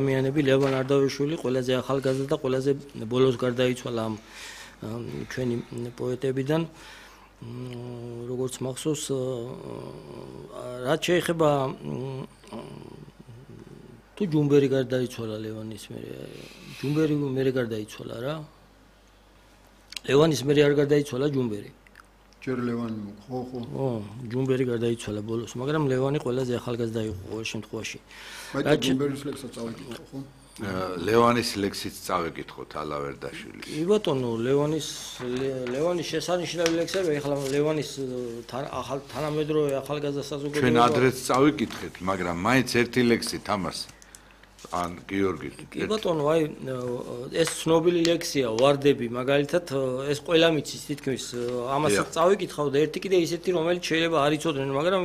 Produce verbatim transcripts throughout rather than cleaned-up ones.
მიანები ლევან არდავიშვილი ყველაზე ახალგაზრდა და ყველაზე ბოლოს გარდაიცვალა ამ ჩვენი პოეტებიდან. როგორც მახსოვს, რაც შეეხება თუ ჯუმბერი გარდაიცვალა ლევანის მერე, ჯუმბერი მერე გარდაიცვალა რა. ლევანის მერე არ გარდაიცვალა ჯუმბერი. ჯერ ლევანი ხო ხო. ო, ჯუმბერი გარდაიცვალა ბოლოს, მაგრამ ლევანი ყველაზე ახალგაზრდა იყო ყოველ შემთხვევაში. მაგრამ ჯუმბერის ლექსსაც წავიკითხო ხო? ლევანის ლექსიც წავიკითხოთ ალავერდაშვილის. კი ბატონო, ლევანის ლევანის შესანიშნავი ლექსები, ახლა ლევანის ახალ თანამედროვე ახალგაზრდა საზოგადოება. ჩვენ ადრეც წავიკითხეთ, მაგრამ მაინც ერთი ლექსი თამას. ან გიორგი. კი ბატონო, აი ეს ცნობილი ლექსია ვარდები, მაგალითად ეს ყველა მიცის თითქმის ამასაც წავიკითხავ და ერთი კიდე ისეთი რომელიც შეიძლება არ იცოდნენ, მაგრამ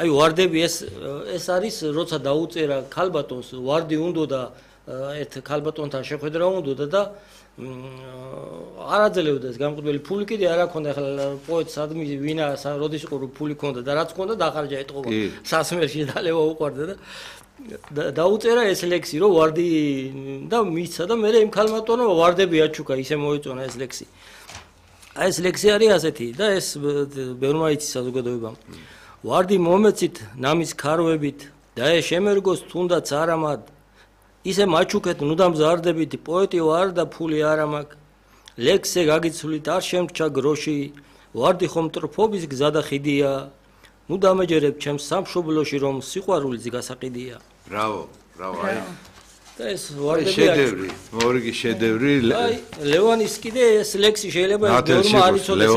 აი ვარდები ეს ეს არის როცა დაუწერა ქალბატონს ვარდი უნდოდა ერთ ქალბატონთან შეხვედრა უნდოდა და არ აძლევდა ეს გამყიდველი ფული კიდე არ აქონდა ახლა პოეტს ადმი ვინა როდის იყო რომ ფული ქონდა და რაც ქონდა დახარჯა ეთყობა სასმელში დალევა უყარდა და დაუწერა ეს ლექსი რომ ვარდი და მიცა და მე იმ ქალბატონო ვარდები აჩუქა ისე მოეწონა ეს ლექსი. აი ეს ლექსი არის ასეთი და ეს ბევრმა იცის საზოგადოებამ. ვარდი მომეცით ნამის ქარვებით და ეს შემერგოს თუნდაც არამად ისე მაჩუქეთ ნუ დამზარდებით პოეტი ვარ და ფული არა მაქვს ლექსზე გაგიცვლით არ შემრჩა გროში ვარდი ხომ ტრფობის გზა და ხიდია ნუ დამეჯერებ ჩემს სამშობლოში რომ სიყვარულიც გასაყიდია. ბრავო, ბრავო. აი და ეს ვარდები შედევრი, მორიგი შედევრი. აი ლევანის კიდე ეს ლექსი შეიძლება ეს ბევრმა არ იცოდეს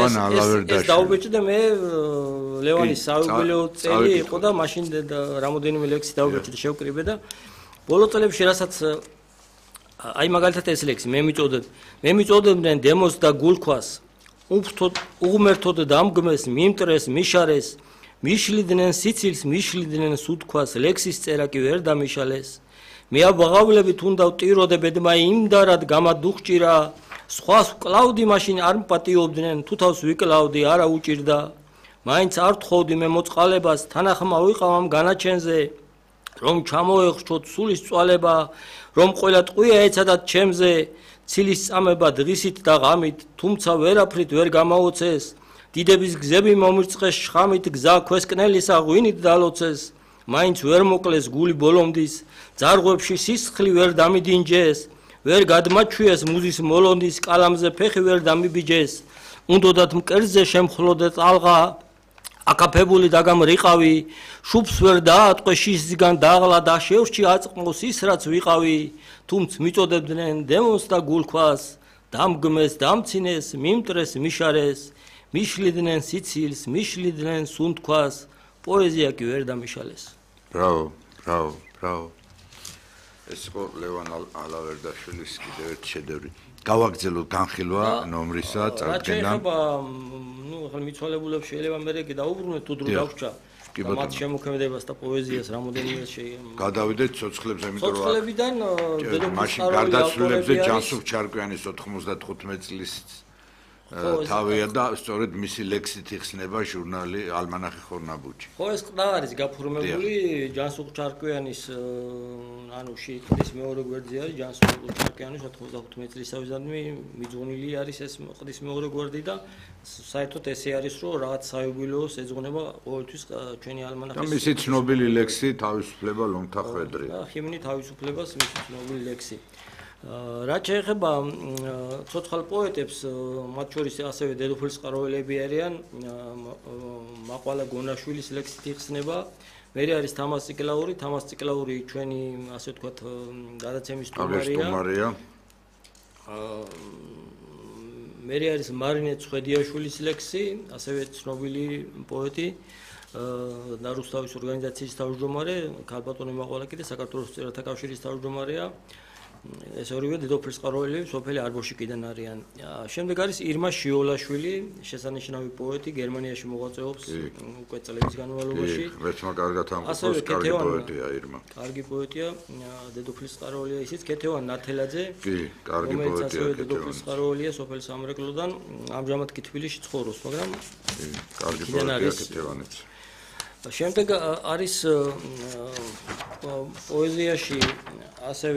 ეს დაუბეჭდე მე ლევანის საიუბილეო წელი იყო და მაშინ რამოდენიმე ლექსი დაუბეჭდე შევკრიბე და ბოლო წლებში რასაც აი მაგალითად ეს ლექსი მე მიწოდებ მე მიწოდებდნენ დემოს და გულქვას უფრთოდ უღმერთოდ დამგმეს მიმტრეს მიშარეს მიშლიდნენ სიცილს მიშლიდნენ სუთქვას ლექსის წერა კი ვერ დამიშალეს მე აბაღავლებით უნდა ვტიროდებდმა იმდარად გამადუხჭირა სხვას ვკლავდი მაშინ არ მპატიობდნენ თუ თავს ვიკლავდი არა უჭირდა მაინც არ თხოვდი მე მოწყალებას თანახმა ვიყავ ამ განაჩენზე რომ ჩამოეხრჩოთ სულის წვალება რომ ყველა ტყვია ეცადათ ჩემზე ცილის წამება დღისით და ღამით თუმცა ვერაფრით ვერ გამაოცეს დიდების გზები მომირწყეს შხამით გზა ქვესკნელისა ღვინით დალოცეს მაინც ვერ მოკლეს გული ბოლომდის ძარღვებში სისხლი ვერ დამიდინჯეს ვერ გადმაჩვიეს მუზის მოლონდის კალამზე ფეხი ვერ დამიბიჯეს უნდოდათ მკერდზე შემხლოდე წალღა აკაფებული დაგამრიყავი შუბს ვერ დაატყვე შისგან დაღლა და შევრჩი აწყმოს ის რაც ვიყავი თუმც მიწოდებდნენ დემონს და გულქვას დამგმეს დამცინეს მიმტრეს მიშარეს მიშლიდნენ სიცილს მიშლიდნენ სუნთქვას პოეზია კი ვერ დამიშალეს. ბრავო, ბრავო, ბრავო. ეს იყო ლევან ალავერდაშვილის კიდევ ერთი შედევრი. გავაგრძელოთ განხილვა ნომრისა წარდგენა. რა შეიძლება ნუ ახლა მიცვალებულებს შეიძლება მე კიდე დაუბრუნოთ თუ დრო დავრჩა. მათ შემოქმედებას და პოეზიას რამოდენიმე შეიძლება. გადავიდეთ ცოცხლებზე, იმიტომ რომ ცოცხლებიდან მაშინ გარდაცვლილებზე ჯანსუღ ჩარკვიანის ოთხმოცდათხუთმეტი წლის თავია და სწორედ მისი ლექსით იხსნება ჟურნალი ალმანახი ხორნაბუჯი. ხო ეს ყდა არის გაფორმებული ჯანსუღ ჩარკვიანის ანუ შეიტყვის მეორე გვერდზე არის ჯანსუღ ჩარკვიანის ოთხმოცდათხუთმეტი წლისავე მიძღვნილი არის ეს ყდის მეორე გვერდი და საერთოდ ესე არის რომ რაღაც საიუბილეოს ეძღვნება ყოველთვის ჩვენი ალმანახის და მისი ცნობილი ლექსი თავისუფლება ლომთა ხვედრი. და ჰიმნი თავისუფლებას მისი ცნობილი ლექსი. რაც შეეხება ცოცხალ პოეტებს, მათ შორის ასევე დედოფლის წყაროელები არიან, მაყვალა გონაშვილის ლექსით იხსნება. მე არის თამას ციკლაური, თამას ციკლაური ჩვენი ასე ვთქვათ გადაცემის სტუმარია. მე არის მარინე ცხედიაშვილის ლექსი, ასევე ცნობილი პოეტი და რუსთავის ორგანიზაციის თავმჯდომარე, ქალბატონი მაყვალა კიდე საქართველოს წერათა კავშირის თავმჯდომარეა. ეს ორივე დედოფლის წყაროელები სოფელი არბოშიკიდან არიან. შემდეგ არის ირმა შიოლაშვილი, შესანიშნავი პოეტი, გერმანიაში მოღვაწეობს უკვე წლების განმავლობაში. ვერცმა კარგად ამბობს, კარგი პოეტია ირმა. კარგი პოეტია, დედოფლის წყაროელია ისიც ქეთევან ნათელაძე. კი, კარგი პოეტია ქეთევანი. დედოფლის წყაროელია სოფელ სამრეკლოდან, ამჟამად კი თბილისში ცხოვრობს, მაგრამ კი, კარგი პოეტია ქეთევანიც. შემდეგ არის პოეზიაში ასევე